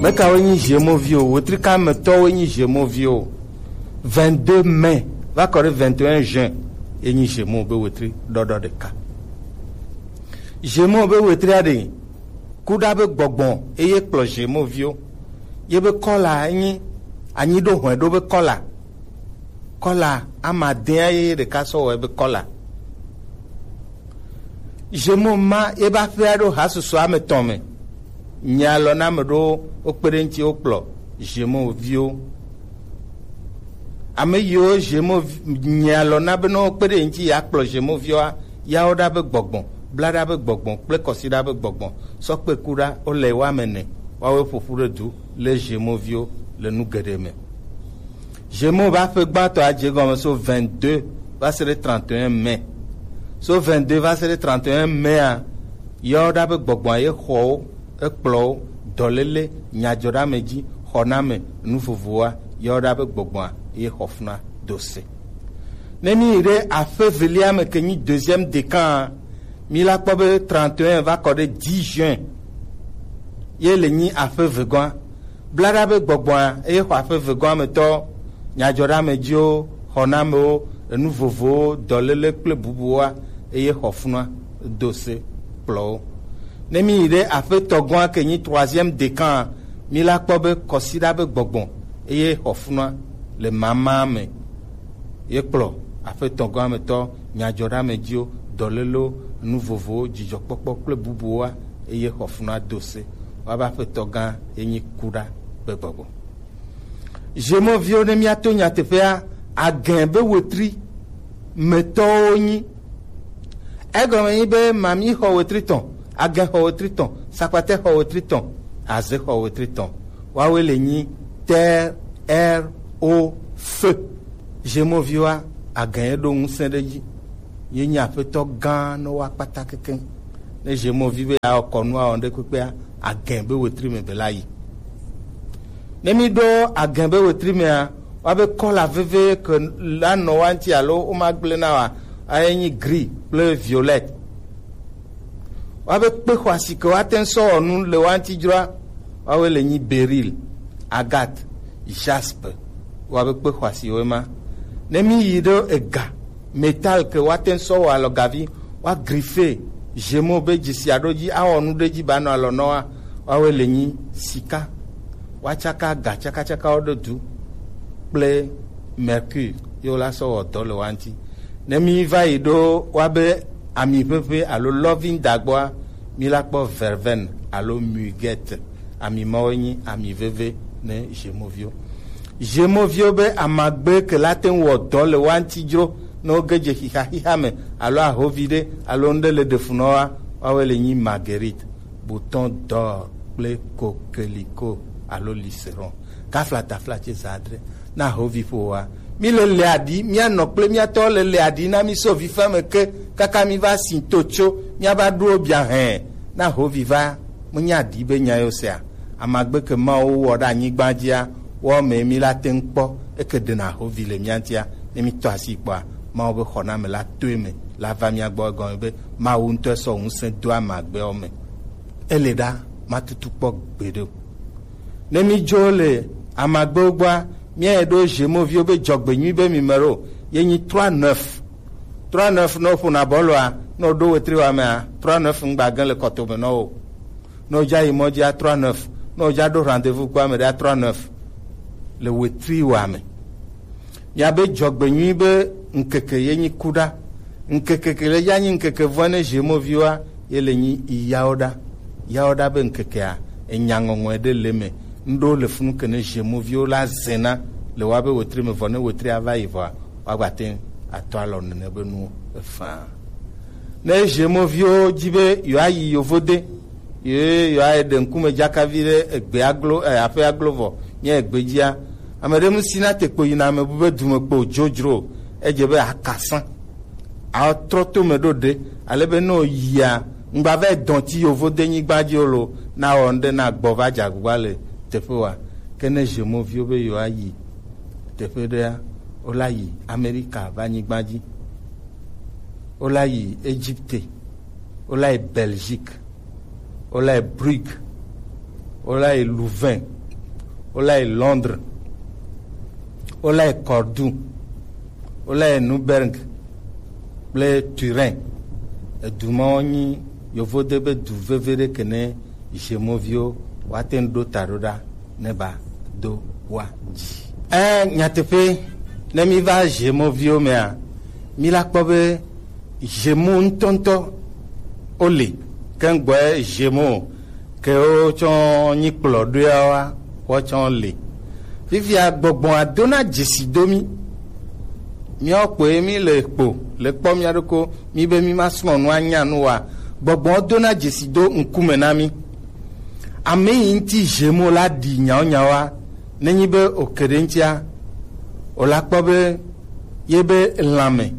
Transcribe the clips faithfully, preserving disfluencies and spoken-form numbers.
Mekawoe nyi Gémeaux viwo? Wetri ka me tɔwoe nyi Gémeaux viwo? Vingt-deux mai va kɔ ɖe vingt et un juin ye nyi Gémeaux be wetri ɖɔɖɔ ɖeka. Gémeaux be wetria ɖe, kuɖa be gbɔgbɔ eye kplɔ Gémeaux viwo. Ye be kɔla nyi anyi ɖo hɔe ɖo be kɔla. Kɔla amadea ye ɖeka sɔ wɔe be kɔla. Gémeaux ma ye ba ƒea ɖo hasusu ame tɔn me. Nye alɔ na me ɖo wo kpe ɖe ŋuti wo kplɔ Gémeaux viwo. Ame yiwo Gémeaux vi- nye alɔ na be ne wo kpe ɖe ŋuti ya kplɔ Gémeaux viwoa, ya wo ɖa be gbɔgbɔ, bla ɖa be gbɔgbɔ kple kɔsi ɖa be gbɔgbɔ sɔ kpe ku ɖa wo le wo ame ne, woawoe ƒoƒu ɖe du le Gémeaux viwo le nu geɖe me. Gémeaux be aƒe gbãtɔ adze egɔme so vingt-deux va se ɖe trente et un mai. So vingt-deux va se ɖe trente et un maia, yɔ ɖa be gbɔgbɔa ye xɔ wo, ekplɔ wo, dɔléle, nyadzɔɖeamedzi, xɔname, nu vovovoa, yɔ ɖa be gbɔgbɔa ye xɔ funa do se. Ne mi yi ɖe aƒe velia me ke nyi deuxième décan, mi la kpɔ be trente et un va kɔ ɖe dix juin ye le nyi aƒe vegɔa. Bla ɖa be gbɔgbɔa eye xɔ aƒe vegɔa me tɔ, nyadzɔɖeamedziwo, xɔnamewo, enu vovowo, dɔléle kple bubuwoa eye xɔ funua do se kplɔ wo. Ne mi yi ɖe aƒe tɔgɔa ke nyi troisième décan, mi la kpɔ be kɔsiɖa be gbɔgbɔ eye xɔ funua le mama me. Ye kplɔ aƒetɔgɔametɔ, nyadzɔɖeamedziwo, dɔlélewo, nu vovowo, dzidzɔkpɔkpɔ kple bubuwoa, eye xɔ funua do se. Woabe aƒetɔ gã ye nyi kuɖa be gbɔgbɔ. Zemɔviwo, ne míato nyateƒea, agẽ be wetri metɔwo nyi. Egɔme nyi be mami xɔ wetri tɔn, agẽ xɔ wetri tɔn, sakpate xɔ wetri tɔn, aze xɔ wetri tɔn. Woawoe le nyi T R O F. Zemɔviwoa, agẽ ye ɖo ŋusẽ ɖe dzi. Ye nyi aƒetɔ gã ne woa kpata kekeŋ. Ne zemɔvi be yeawɔ kɔnu awɔ ŋɖe kpekpea, agẽ be wetri me be la yi. Ne mi ɖo agẽ be wetri mea, woabe kɔla veve ke la nɔ wa ŋuti alo womagblẽ na wa, aye nyi gris kple violet. Woabe kpe xɔasi ke woate ŋu sɔ wɔ nu le wa ŋuti dzroa, woawoe le nyi beryl, agate, jaspe. Woabe kpe xɔasiwoe ma. Ne mi yi ɖo ega, métal ke woate ŋu sɔ wɔ alɔgavi, woa griffe, zemɔ be dzesi aɖo dzi, awɔ nu ɖe dzi ba nɔ alɔ nɔ wa, woawoe le nyi sika. Woatsaka ga tsakatsakawo ɖe du kple mercure ye wola sɔ wɔ dɔ le wa ŋuti. Ne mi va yi ɖo woabe ami ʋeʋe alo lɔvi ŋda gbɔa, mi la kpɔ verveine alo muguet. Ami mawo nyi ami veve ne zemɔviwo. Zemɔviwo be amagbe ke la te ŋu wɔ dɔ le wa ŋuti dzro ne woge dze xixa xixa me alo ahovi ɖe alo ŋɖe le ɖe fu nɔ wa, woawoe le nyi marguerite, bouton d'or kple coquelicot alo liseron. Kafla tafla tse za adre. Na ahovi ƒo wa. Mi le le aɖi, mía nɔ kple mía tɔ le le aɖi na mi so vi fe me ke kaka mi va si to tso mía va ɖo bia hɛn. Na ahovi va, mo nya aɖi be nya yo sea. Amagbe ke Mawu wɔ ɖe anyigba dzia, wɔ me mi la te ŋu kpɔ, eke ɖena ahovi le mía ŋutia, ne mi tɔ asi kpɔa, Mawu be xɔname la toe me la va mía gbɔ, egɔme be Mawu ŋutɔ sɔ ŋusẽ do amagbewo me. Ele ɖa, matutu kpɔ gbeɖe o. Ne mi dzo le amagbewo gbɔa, mía yi ɖo zemɔviwo be dzɔgbenyui be mi me ɖo, ye nyi trois neuf. Trois neuf ne woƒona bɔlua, ne woɖo wetri wa mea, trois neuf ŋgba gã le kɔtome nɔ wo. Ne wodza yi mɔ dzia, trois neuf. Ne wodza ɖo rendez-vous kpɔ ame ɖea, trois neuf. Le wetri wa me. Miabe dzɔgbenyui be ŋkeke ye nyi kuɖa. Ŋkeke ke le ya nyi ŋkeke vɔ ne zemɔviwoa, ye le nyi yawoɖa. Yawoɖa be ŋkekea, enya ŋɔŋɔe ɖe le me. Ŋɖo le funu ke ne zemɔviwo la zena le woabe wetri me vɔ ne wetria va yi vɔa, woagba te atɔ alɔ nene be nuwo efaa. Ne zemɔviwo dzi be yewoayi yovode, ye yewoayi ɖe ŋkume dzakavi ɖe egbe aglo, eh, aƒe aglo vɔ, nye egbe dzia, ame ɖe mu si na te kpo yina ame bu be dume kpo dzodzro, edze be akasã. Atrɔ to me ɖo ɖe, ale be ne wòyia, ŋgba va dɔn ti yovode nyigba dzi o lo, na wɔ ŋɖe na gbɔ va dze agbagba le teƒe wa. Ke ne zemɔviwo be yewoayi teƒe ɖea, wola yi Amerika va nyigba dzi. Wola yi Egypte, wola yi Belgique, wola yi Brugge, Wola yi Louvain, wola yi Londres, wola yi Cordoue, wola yi Nuremberg kple Turin. Edu mawo nyi yovode be du veve ɖe ke ne Gémeaux-viwo woate ŋu ɖo ta ɖo ɖa ne ba do wa dzi. Ɛ, nyateƒe, ne mi va Gémeaux-viwo mea, mi la kpɔ be Gémeaux ŋutɔŋutɔ wo li. Ke ŋgbɔe Gémeaux ke wo tsɔ nyi kplɔ ɖoeawoa, woawo tsɔ li. Fifia gbɔgbɔa dona dzesi do mi. Míawo kpoe mi le kpo le kpɔ mía ɖokɔ mi be mi ma srɔ̃ nu anya nu wa. Gbɔgbɔa dona dzesi do ŋkume na mi. Ame yi ŋuti Gémeaux la ɖi nyawo nyawoa, nenyi be o ke ɖe ŋutia, o la kpɔ be ye be lãme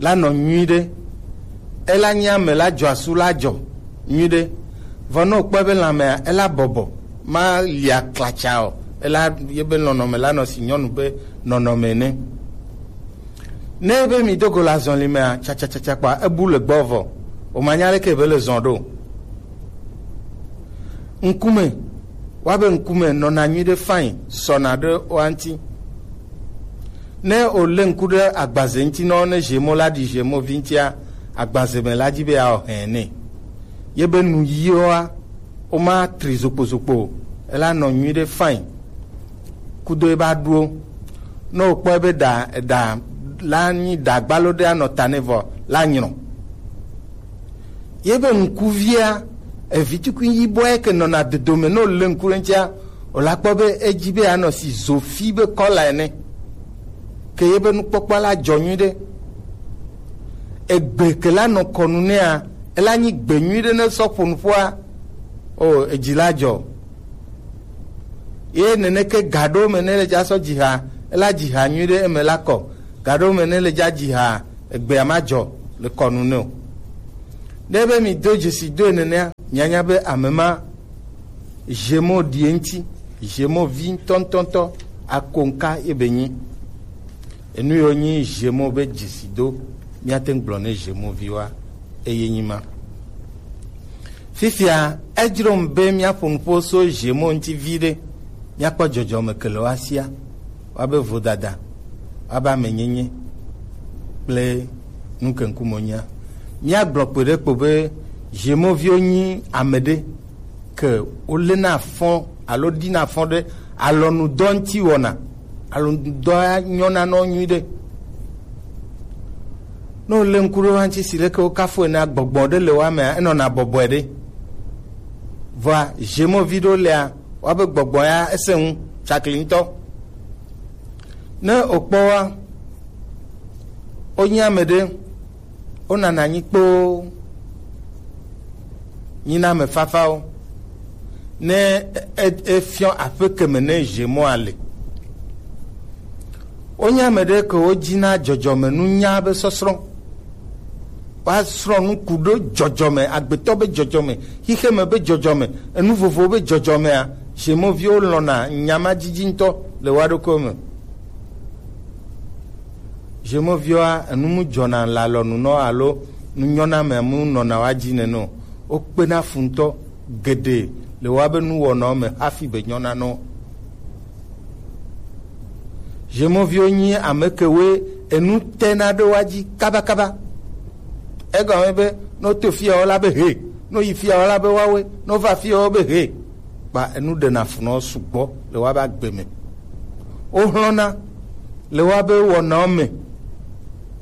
la nɔ nyuiɖe. Ela nye ame la dzɔ asu la dzɔ nyuiɖe. Vɔ ne wòkpɔe be lãmea ela bɔbɔ, ma lia klatsa o, ela ye be nɔnɔme la nɔ si nyɔnu be nɔnɔme ene. Ne be mi do go le azɔli mea, tsatsatsatsa kpa ebu le gbɔ vɔ, o ma nya leke be le zɔn ɖo. Ŋkume, wa be ŋkume nɔna nyuiɖe fain sɔna ɖe wa ŋuti. Ne o le ŋku ɖe agbaze ŋuti nɔ ne Gémeaux la ɖi Gémeaux-vi ŋutia, agbaze me la dzi be yeawɔ hɛn nɛ. Ye be nu yiwoa, woma tri zokpozokpo o, ela nɔ nyuiɖe fain. Kudo ebe aɖuwo. Ne wòkpɔ ebe ɖa, ɖa la nyi ɖa gbalo ɖe anɔ ta nɛ vɔ la nyrɔ. Ye be ŋkuvia, evi tukui yibɔ ye ke nɔna dodome ne wòle ŋku ɖe ŋutia, wòla kpɔ be edzi be anɔ si zofi be kɔla ene. Ke ye be nukpɔkpɔ la dzɔ nyuiɖe. Egbe ke la nɔ kɔnu nɛa, ela nyi gbe nyuiɖe ne sɔ ƒo nuƒoa, o, edzi la dzɔ. Ye neneke ga ɖewo me ne le dza sɔ dziha, ela dziha nyuiɖe eme la kɔ. Ga ɖewo me ne le dza dziha, egbea ma dzɔ le kɔnu ne o. Ne be mi do dzesi doe nenea, mianya be ame ma Gémeaux ɖi eŋuti, Gémeaux vi ŋutɔŋutɔŋutɔ, akonka ye be nyi. Enu yiwo nyi Gémeaux be dzesi do, míate ŋu gblɔ ne Gémeaux viwoa, eye nyi ma. Fifia, edzrom be míaƒo nuƒo so Gémeaux ŋuti viɖe, míakpɔ dzɔdzɔme ke le woasia, woabe vodada, woabe amenyenye kple nukeŋkumonyea. Míagblɔ kpe ɖe kpo be Gémeaux viwo nyi ame ɖe ke wolena afɔ alo ɖina afɔ ɖe alɔnudɔ ŋuti wɔna. Alɔnudɔa nyɔna nɔ nyuiɖe. Ne wole ŋku ɖe woa ŋuti si leke wokafu ene, gbɔgbɔ ɖe le woa mea, enɔna bɔbɔe ɖe. Vɔa, Gémeaux vi ɖewo lea, woabe gbɔgbɔ ya ese ŋu tsakli ŋutɔ. Ne wòkpɔ wa, wonye ame ɖe, wonana anyi kpoo, nyina ame fafawo. Ne e-, e-, efiɔ aƒe keme ne Gémeaux le. Wonye ame ɖe ke wodzina dzɔdzɔmenunya be sɔsrɔ̃. Woasrɔ̃ nu ku ɖo dzɔdzɔme, agbetɔ be dzɔdzɔme, xixeme be dzɔdzɔme, enu vovowo be dzɔdzɔmea, Gémeaux viwo lɔ̃na nya ma didi ŋutɔ le woa ɖokuiwo me. Gémeaux viwoa, enu mu dzɔna le alɔnu nɔ alo nu nyɔna me mu nɔna woa dzi nene o. Wokpena fu ŋutɔ geɖe le woabe nuwɔnawo me hafi be nyɔna nɔ. Zemɔviwo nyi ame kewoe enu tena ɖe woa dzi kabakaba. Egɔme be, ne woto fiyawo la be he, ne woyi fiyawo la be woawoe, ne wova fiyawo be he. Kpa enu ɖena fu na wo sugbɔ le woabe agbe me. Wohlɔ̃na le woabe wɔnawo me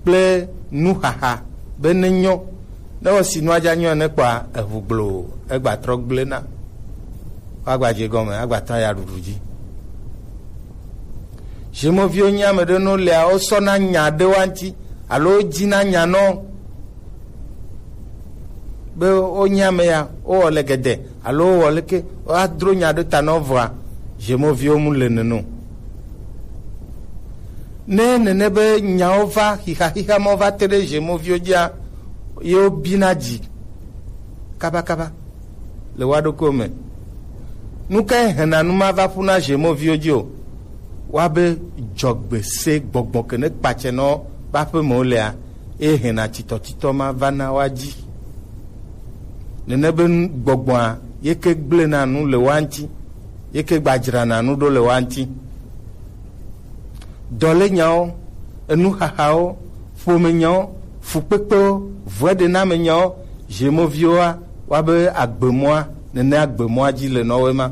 kple nuxaxa be nenyo. Ne wosi nua dza nyɔ ne kpɔa, eʋu gblo, egba trɔ gblẽ na. Woagba dze gɔme, agba tɔ ya ɖuɖu dzi. Zemɔviwo nye ame ɖe no lea, wosɔna nya ɖe woa ŋuti, alo wodzina nya nɔ be wonye ame ya, wowɔ le gede, alo wowɔ leke, woadro nya ɖe ta nɔ vɔa, zemɔviwo mu le neno. Ne nene be nyawo va, xixa xixa ma va te ɖe zemɔviwo dzia, ye wobina dzi kabakaba le woa ɖokuiwo me. Nu kae hena nu ma va ƒu na zemɔviwo dzi o? Woabe dzɔgbe se gbɔgbɔ ke ne kpatsɛ nɔ be aƒemewo lea, eye hena titɔtitɔ ma va na woa dzi. Nene be nu-, gbɔgbɔa ye ke gblena nu le wa ŋuti, ye ke gbadzrana nu ɖo le wa ŋuti. Dɔlenyawo, enuxaxawo, ƒomenyawo, fukpekpewo, vɔɛɖenamenyawo, Gémeaux-viwoa, woa be agbemɔa, nene agbemɔa dzi le nɔ woe ma.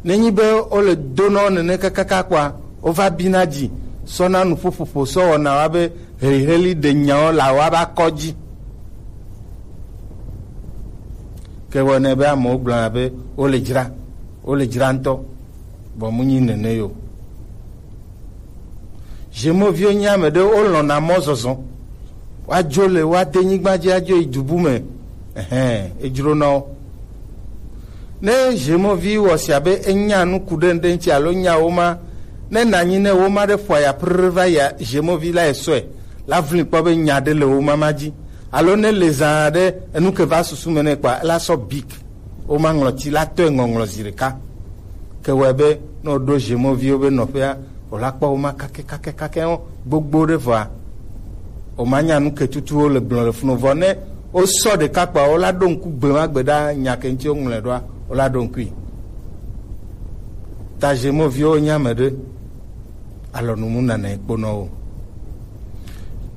Nenyi be wole do nɔ nene kakaka kpɔa, wova bina dzi sɔna nuƒoƒoƒo sɔ wɔna wa be heliheli ɖe nyawo la wa ba kɔ dzi. Ke wɔnɛ be amewo gblɔna be wole dzra, wole dzra ŋutɔ, vɔ mu nyi nene yo. Gémeaux-viwo nye ame ɖe wolɔ̃na mɔ zɔzɔ. Woadzo le woade nyigba dzi adzo yi dubu me. Ɛhɛn, edzro na wo. Ne Gémeaux-vi wɔ sia be enya nu ku ɖe ŋɖe ŋuti alo nya wo ma, ne nanyi ne wo ma ɖe ƒoa ya prrr va yia, Gémeaux-vi la esɔe, la vli kpɔ be nya ɖe le wo ma ma dzi. Alo ne le zã ɖe enu ke va susu me ne kpɔa, ela sɔ bik. Woma ŋlɔti la tɔe ŋɔŋlɔ zi ɖeka. Ke wɔe be ne woɖo Gémeaux-viwo be nɔƒea, wòla kpɔ woma kake kake kake wo gbogbo ɖe vɔa, woma nya nu ke tutu wole gblɔ le funu vɔ ne wosɔ ɖeka kpɔa, wola ɖo ŋku gbe ma gbe ɖa nya ke ŋuti woŋlɔe ɖoa, wola ɖo ŋkui. Ta Gémeaux-viwo nye ame ɖe alɔnu mu nana kponɔ wo.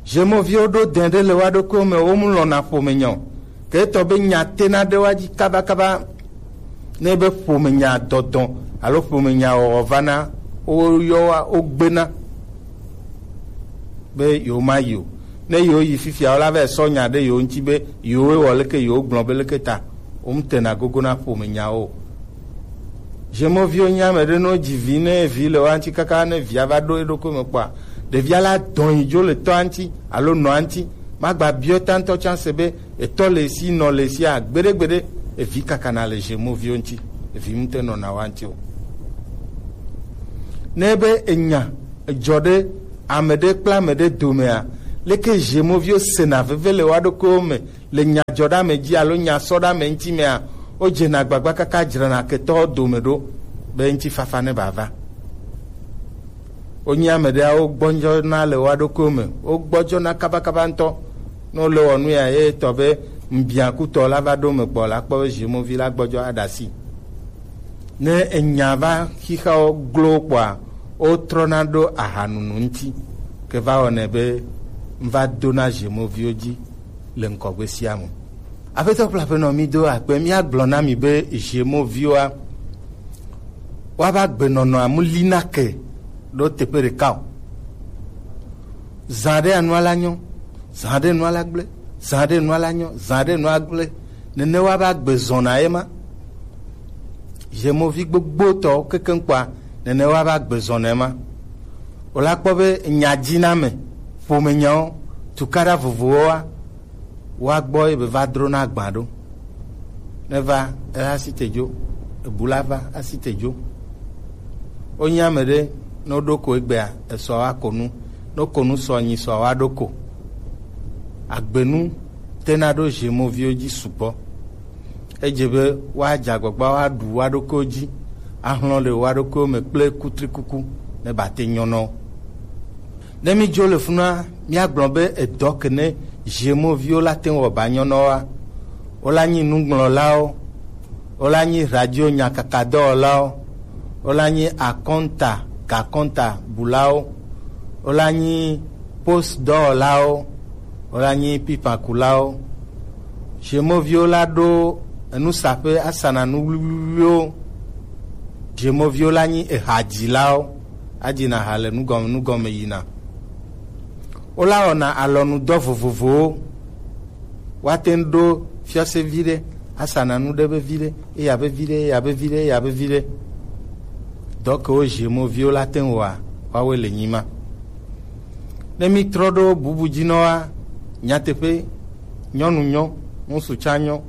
Gémeaux-viwo ɖo dɛn ɖe le wa ɖokuiwo me, wo mu lɔna ƒome nya o. Ke etɔ be nya tena ɖe wa dzi kabakaba. Ne be ƒomenya dɔdɔ alo ƒomenya wɔwɔ va na wo yɔwa wo gbena be yewo ma yi o. Ne yewo yi fifia, wo la va sɔ nya ɖe yewo ŋuti be yewo wɔ leke, yewo gblɔ be leke ta. Wo ŋutena gogo na ƒomenyawo o. Zemɔviwo nye ame ɖe ne wodzi vi, ne vi le woa ŋuti kaka ne via va ɖo eɖokui me kpɔa, ɖevia la dɔn yi dzo le tɔa ŋuti alo nɔa ŋuti. Magba biɔ tantɔ tsanse be etɔ le esi, nɔ le esia, gbeɖegbeɖe, evi kakana le zemɔviwo ŋuti, evi ŋute nɔna woa ŋuti o. Ne be enya dzɔ ɖe ame ɖe kple ame ɖe domea, leke zemɔviwo sena veve le woa ɖokuiwo me le nya dzɔ ɖe ame dzi alo nya sɔ ɖe ame ŋuti mea, wodzena agbagba kaka dzrana ketɔwo dome ɖo be ŋutifafa ne bava. Wonye ame ɖeawo gbɔdzɔna le woa ɖokuiwo me. Wogbɔdzɔna kabakaba ŋutɔ. Ne wole wɔ nu ya, ye tɔ be ŋbiakutɔ la va ɖo me kpɔ la kpɔ be zemɔvi la gbɔdzɔ aɖe asi. Ne enya va xixeawo glo kpɔa, wotrɔna ɖo ahanunu ŋuti. Ke va wɔnɛ be ŋva dona zemɔviwo dzi le ŋkɔgbe sia me. Aƒetɔ kple aƒenɔ, mi do akpe, míagblɔ na mi be zemɔviwoa, woava gbenɔnɔa mu lina ke ɖo teƒe ɖeka o. Zã ɖe anua la nyɔ, zã ɖe nua la gblẽ, zã ɖe nua la nyɔ, zã ɖe nua gblẽ. Nene woava gbe zɔna ye ma. Zemɔvi gbogbotɔwo kekeŋ kpɔa, nene woava gbe zɔna ye ma. Wòla kpɔ be nyadziname, ƒomenyawo, tukaɖa vovovowoa, woa gbɔ ye be va drona agba ɖo. Ne va, ela asi te dzo, ebu la va asi te dzo. Wonye ame ɖe, ne woɖo ko egbea, esɔ woako nu. Ne woko nu sɔ nyi sɔ woaɖo ko. Agbenu tena ɖo zemɔviwo dzi sugbɔ. Edze be woadze agbagba woaɖu woa ɖokuiwo dzi, ahlɔ̃ le woa ɖokuiwo me kple kutrikuku ne bate nyɔ na wo. Ne mídzo le funua, míagblɔ be edɔ ke ne zemɔviwo la te ŋu wɔ ba nyɔ na woa, wola nyi nugblɔlawo, wola nyi radio nyakakadɔwɔlawo, wola nyi akɔnta, gakɔnta bulawo, wola nyi post dɔwɔlawo, wola nyi pipakulawo. Zemɔviwo la ɖo enusaƒe asana nu wluwluwluwo. Zemɔviwo la nyi ehadzilawo, adzina ha le nugɔme nugɔme yina. Wola wɔna alɔnudɔ vovovowo. Woate ŋu ɖo fiɔse vi ɖe, asana nu ɖe be vi ɖe, eya be vi ɖe, eya be vi ɖe, eya be vi ɖe. Dɔ kewo zemɔviwo la te ŋu wɔa, woawoe le nyi ma. Ne mítrɔ ɖo bubu dzi nɔa, nyateƒe, nyɔnu nyɔ, ŋutsu tsã nyɔ,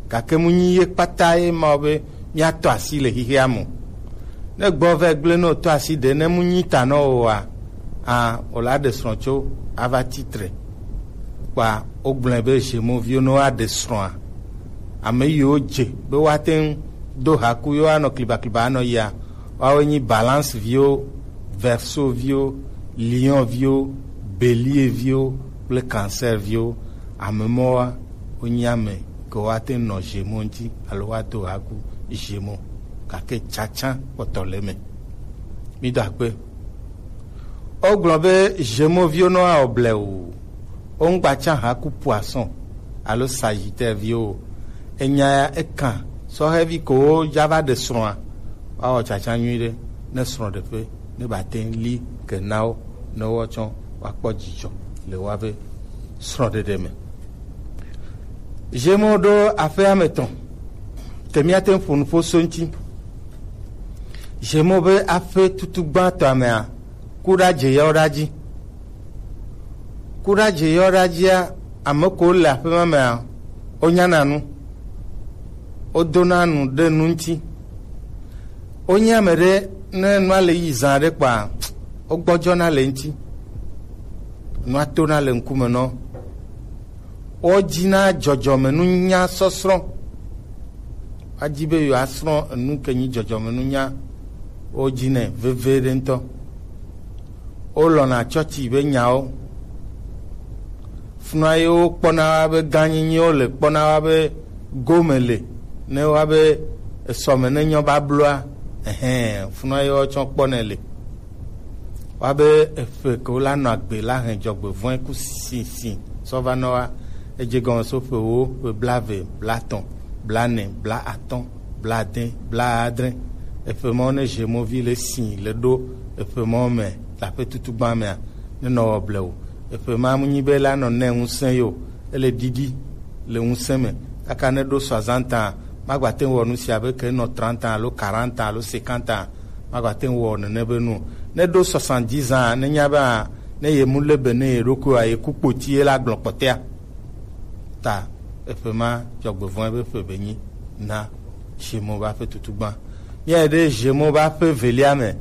gake mu nyi ye kpata ye ma be míatɔ asi le xexea me o. Ne gbɔ vɛ gblẽ ne wòtɔ asi ɖe ne mu nyi ta nɔ o oa, a, wòla ɖe srɔ̃ tso ava titre. Kpa wogblɔe be zemɔviwo ne woaɖe srɔ̃a, ame yiwo dze be woate ŋu do haku yewo anɔ klibakliba anɔ yia, woawoe nyi Balance viwo, Verseau viwo, Lion viwo, Bélier viwo kple Cancer viwo. Ame mɔwoa, wonye ame ke woate nɔ Gémeaux ŋuti alo woado haku Gémeaux, gake tsatsa kpɔtɔ le eme. Mído akpe. Wogblɔ be Gémeaux viwo nɔ awɔ blewu, woŋgbatsa haku poisson alo Sagittaire viwo o. Enya ya ekan sɔhɛvi ko woja va ɖe srɔ̃a, woawɔ tsatsa nyuiɖe ne srɔ̃ɖeƒe ne bate li ke na wo ne woatsɔ woakpɔ dzidzɔ le woabe srɔ̃ɖeɖe me. Gémeaux ɖo aƒe ame etɔ̃ ke míate ŋu ƒo nuƒo so ŋuti. Gémeaux be aƒe tutu gbãtɔa mea, kuɖadze yɔ ɖa dzi. Kuɖadze yɔ ɖa dzia, ame ko le aƒe ma mea, wonyana nu, wodona nu ɖe nu ŋuti. Wonye ame ɖe, ne nua le yi zã ɖe kpɔa, wogbɔdzɔna le ŋuti. Nua tona le ŋkume nɔ. Wodina dzɔdzɔmenunya sɔsrɔ̃. Woadi be yewoasrɔ̃ enu ke nyi dzɔdzɔmenunya. Wodinɛ veve ɖe ŋutɔ. Wolɔ̃na tsɔtsi be nyawo. Funua ye wokpɔna wa be gãnyinyiwo le, kpɔna wa be gome le, ne wa be esɔme ne nyɔ babloa, ɛhɛn, funua ye wotsɔ kpɔnɛ le. Wa be eƒe ke wola nɔ agbe la hɛn dzɔgbevɔ̃e ku sisi sɔ va nɔ wa. Edze gɔme so ƒe wo, ƒe blaeve, blatɔ̃, blaene, blaatɔ̃, blaade, blaadre. Eƒe mawo ne Gémeaux vi le si le ɖo eƒe mawo me le aƒe tutu gbã mea, ne nɔ wɔ blewu. Eƒe ma mu nyi be la nɔ ne ŋusẽ yo, ele ɖiɖi le ŋusẽ me. Kaka ne ɖo soixante ans, magbate ŋu wɔ nu sia be ke nɔ trente ans alo quarante ans alo cinquante ans, magbate ŋu wɔ nene be nu o. Ne ɖo soixante-dix ans, ne nya be a, ne ye mu le be ne ye ɖokuiwa ye ku kpoti ye la gblɔ kpɔtɛa. Ta eƒe ma dzɔgbevɔ̃e be ƒe be nyi na Gémeaux ba ƒe tutu gbã. Míayi ɖe Gémeaux ba ƒe velia me,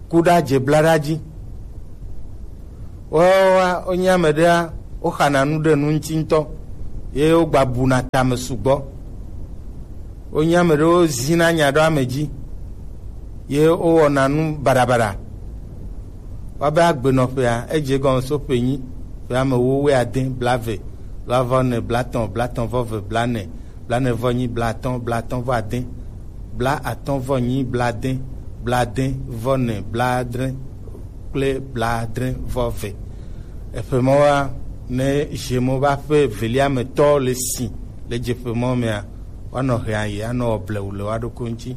kuɖadze blaɖadzi. Woawoa, wonye ame ɖea, woxana nu ɖe nu ŋuti ŋutɔ, ye wogbabuna tame sugbɔ. Wonye ame ɖewo zina nya ɖo ame dzi, ye wowɔna nu baɖabaɖa. Woabe agbenɔƒea, edze gɔme so ƒe nyi, ƒe ame wuiade, blaeve, blaeve vɔ ene, blatɔ̃, blatɔ̃ vɔ eve, blaene, blaene vɔ nyi, blatɔ̃, blatɔ̃ vɔ ade, blaatɔ̃ vɔ nyi, blade, blade vɔ ene, blaadre kple blaadre vɔ eve. Eƒe mawoa, ne Gémeaux ba ƒe velia me tɔ le si le dzeƒe mɔ mea, woanɔ hea yi anɔ blewu le woaɖokui ŋuti.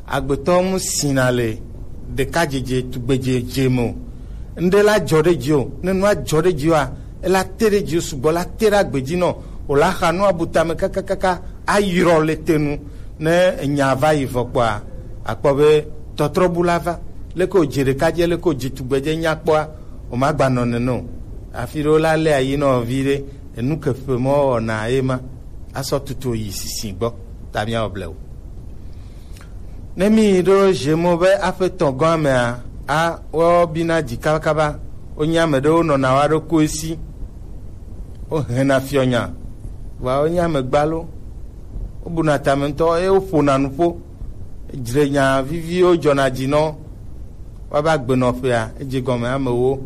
Agbetɔ mu sina le ɖekadzedze tugbedzedze me o. Ŋɖe la dzɔ ɖe dzi o. Ne nua dzɔ ɖe dzi oa, ela te ɖe dzi o sugbɔ, la te ɖe agbe dzi nɔ o, la xa nua bu tame kakakaka ayrɔ le te nu. Ne enya va yi vɔ kpɔa, akpɔ be tɔtrɔbu la va. Leke wòdze ɖekadze, leke wòdze tugbedze nya kpɔa, wòmagbanɔ nene o. Afi ɖewo la lé ayi nɔ vi ɖe, enu ke ƒe mɔ wɔna ye ma, asɔ tutu yi sisi gbɔ, ta míawɔ blewu. Ne mi ɖo Gémeaux be aƒe tɔ̃ gɔ̃a mea, a, woawo bina dzi kabakaba, wonye ame ɖewo nɔna wa ɖokuiwo si, wohena fiɔnya, vɔa wonye ame gbalo, wobuna tame ŋutɔ, eye woƒona nuƒo, dzrenya viviwo dzɔna dzi nɔ, woava gbenɔƒea, edze gɔme amewo,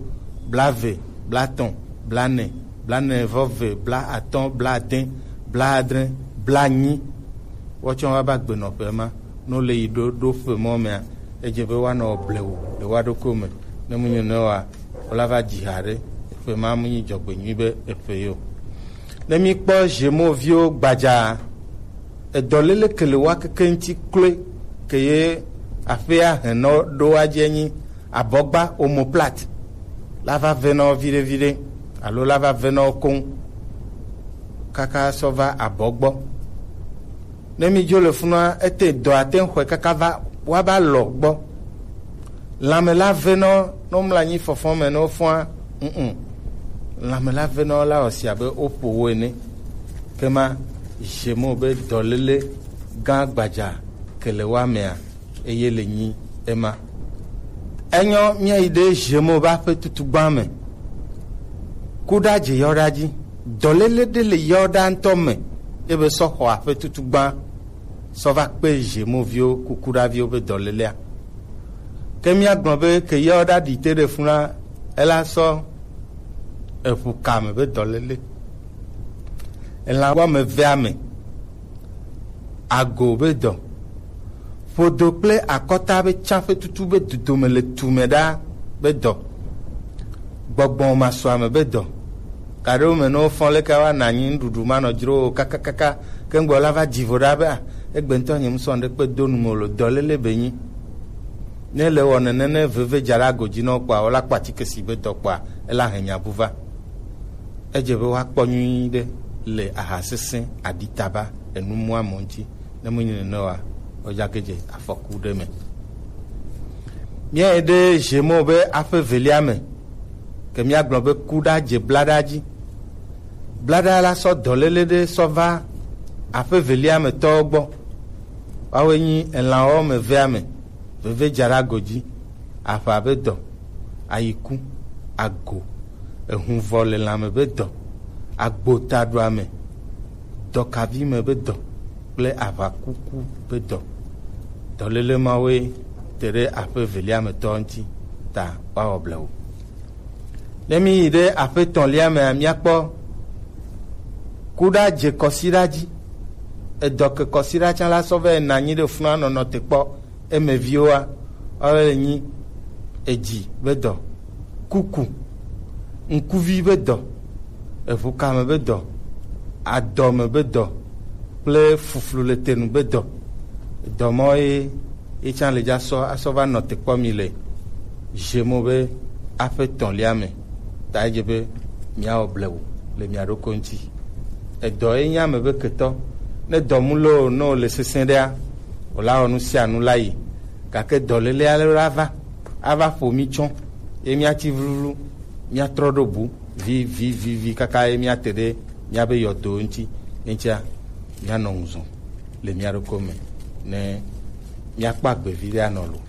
blaeve, blatɔ̃, blaene, blaene vɔ eve, blaatɔ̃, blaade, blaadre, blaenyi. Woatsɔ woava gbenɔƒe ma, ne wole yi ɖo, ɖo ƒe mɔ mea, edze be woanɔ blewu le woa ɖokui me. Ne mu nyo ne wa, wola va dzi ha ɖe, eƒe ma mu nyi dzɔgbenyui be eƒe yo. Ne mi kpɔ Gémeaux viwo gbadza, edɔlele ke le woa keke ŋuti kloe ke ye aƒea henɔ ɖo wa dzi enyi abɔgba omoplate la va ve na wo viɖe viɖe alo la va ve na wo koŋ kaka sɔ va abɔ gbɔ. Ne mi dzo le funua, ete dɔ ate ŋu xɔe kaka va wa va lɔ gbɔ. Lãme la ve na wo, ne womlɔ anyi fɔfɔ me ne wofɔa, mm lãme la ve na wo la wɔ si abe woƒo wo ene. Ke ma Gémeaux be dɔlele gã gbadza ke le woa mea, eye le nyi ema. Enyɔ míayi ɖe Gémeaux ba ƒe tutugbã me. Kuɖa dze yɔɖa dzi. Dɔlele ɖe le yɔɖa ŋutɔ me, ebe sɔ xɔ aƒe tutugbã sɔ va kpe Gémeaux viwo, kukuɖaviwo be dɔlelea. Ke míagblɔ be ke yɔɖa ɖi te ɖe funa, ela sɔ eʋu kame be dɔlele. Elã wɔme evea me. ago be dɔ, ƒodo kple akɔta be tsaƒe tutu be dodome le tu me ɖa be dɔ, gbɔgbɔ masɔame be dɔ. Gaɖewo me ne wofɔ leke woana anyi nuɖuɖu manɔ dzro o kakakaka, ke ŋgbɔ la va dzi vo ɖa be, a, egbe ŋutɔ nye ŋusɔ ɖe kpe do nu me o lo, dɔléle be nyi. Ne le wɔ nene ne veve dza ɖe ago dzi na wo kpɔa, wola kpɔ atike si be dɔ kpɔa, ela hɛnya bu va. Edze be woakpɔ nyui ɖe le aha sesẽ, aɖitaba, enumua mɔ ŋuti. Ne menye nene oa, wodzake dze afɔku ɖe me. Míayi ɖe Zemo be aƒe velia me, ke míagblɔ be kuɖa dze blaɖa dzi. Blaɖa la sɔ dɔléle ɖe sɔ va aƒe velia me tɔwo gbɔ. Woawoe nyi elãwo me vea me, veve dza ɖe ago dzi, aʋa be dɔ, ayiku, ago, ehuvɔ le lãme be dɔ, agbotaɖoame, dɔkavi me be dɔ kple aʋakuku be dɔ. Dɔléle mawoe te ɖe aƒe velia me tɔ ŋuti ta woawɔ blewu. Ne míyi ɖe aƒe etɔ̃lia mea, míakpɔ kuɖa dze kɔsiɖa dzi. Edɔ ke kɔsiɖa tsã la sɔ vɛ na anyi ɖe funa nɔnɔ te kpɔ. Emeviwoa, woawoe nyi edzi be dɔ, kuku, ŋkuvi be dɔ, eʋukame be dɔ, adɔme be dɔ kple fuflu le tenu be dɔ. Dɔ mawo ye, ye tsã le dza sɔ asɔ va nɔ te kpɔ mi le Zemo be aƒe etɔ̃lia me. Ta edze be míawɔ blewu le mia ɖokui ŋuti. Edɔ ye nye ame be ketɔ. Ne dɔ mu loo, ne wòle sesẽ ɖea, wòla wɔ nu sia nu la yi. Gake dɔléle ale la va, ava ƒo mí tsɔ, ye míatsi vluvlu, míatrɔ ɖo bu, vi, vi, vi, vi, kaka ye míate ɖe míabe yɔdowo ŋuti. Ye ŋutia, míanɔ ŋuzɔ le mía ɖokui me, ne míakpɔ agbe vi ɖe anɔ lo.